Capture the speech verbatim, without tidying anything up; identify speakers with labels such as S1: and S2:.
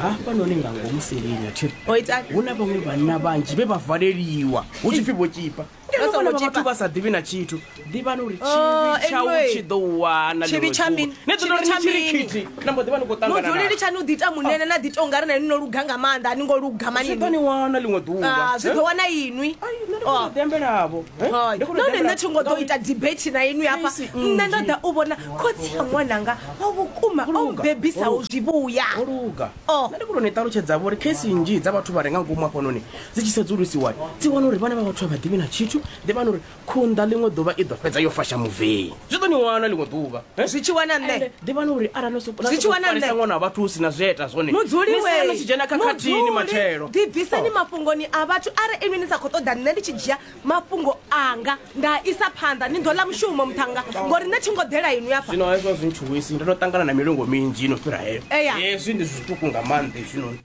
S1: Hafhanoni nga ngomu seleni athiri
S2: O itani?
S1: Hu na vhaṅwe vhanna vhanzhi vhe vha valeliwa hu tshi pfi vho tshipa.
S2: Vha songo
S1: Ngeno vhana vha
S2: tshipa.
S1: vhathu vha sa ḓivhi na tshithu. Ḓivhani uri
S2: Oh,
S1: tshivhi tshau
S2: anyway.
S1: tshi ḓo u wana
S2: Tshivhi
S1: ḽiṅwe
S2: tsha
S1: ḓuvha.
S2: mini?
S1: Ni ḓo tou
S2: Tshivhi
S1: ri
S2: tsha
S1: ni tshi ri
S2: mini?
S1: khithi na mbo ḓi vha ni khou ṱangana
S2: Mudzuli
S1: na
S2: litshani u ḓi ita munene na ḓi ita ungari na inwi no luga nga maanḓa, a ni ngo luga mani.
S1: Zwi ḓo ni wana ḽiṅwe ḓuvha.
S2: Ah, zwi ḓo wana inwi.
S1: Ai, nṋe ndi
S2: Oh.
S1: khou ḓi ambelavho. Eh?
S2: Hai.
S1: Ndi khou ḓi
S2: Nahone nṋe
S1: ambela-
S2: thi ngo ḓo ita debate na inwi hafha.
S1: Case
S2: Nṋe ndo
S1: nnzhi.
S2: ḓa u vhona khotsi a ṅwananga wa vhukuma o
S1: Luga,
S2: mbebisaho
S1: luga.
S2: zwivhuya.
S1: O luga.
S2: Oh.
S1: Nṋe ndi khou tou ni ṱalutshedza vho uri case nnzhi dza vhathu vha re nga ngomu hafhanoni dzi tshi sedzulusiwa dzi wana uri vhana vha vhathu a vha ḓivhi na tshithu. Ḓivhani uri khunḓa ḽiṅwe ḓuvha i ḓo fhedza yo fasha muvei, zwi ḓo ni wana ḽiṅwe ḓuvha. Eh?
S2: Zwi tshi wana nṋe.
S1: Ende ḓivhani uri arali no soko- na
S2: Zwi tshi
S1: sokou
S2: wana
S1: farisa
S2: nṋe.
S1: ṅwana wa vhathu hu si na zwieta zwone,
S2: Mudzuli
S1: ni
S2: we
S1: sala ni tshi dzhena khakhathini
S2: Mudzuli,
S1: matshelo.
S2: ḓibviseni
S1: Oh.
S2: mafhungoni a vhathu. Arali inwi ni sa khou ṱoḓa nṋe ndi tshi dzhia mafhungo anga nda isa phanḓa, ni ḓo ḽa mushumo muṱhanga, ngori nṋe thi ngo ḓela inwi hafha.
S1: Zwino hezwo zwi ntshuwisi, ndo no ṱangana na milingo minzhi ino fhira heyo.
S2: Eya.
S1: Hezwi ndi zwiṱuku nga maanḓa hezwinoni.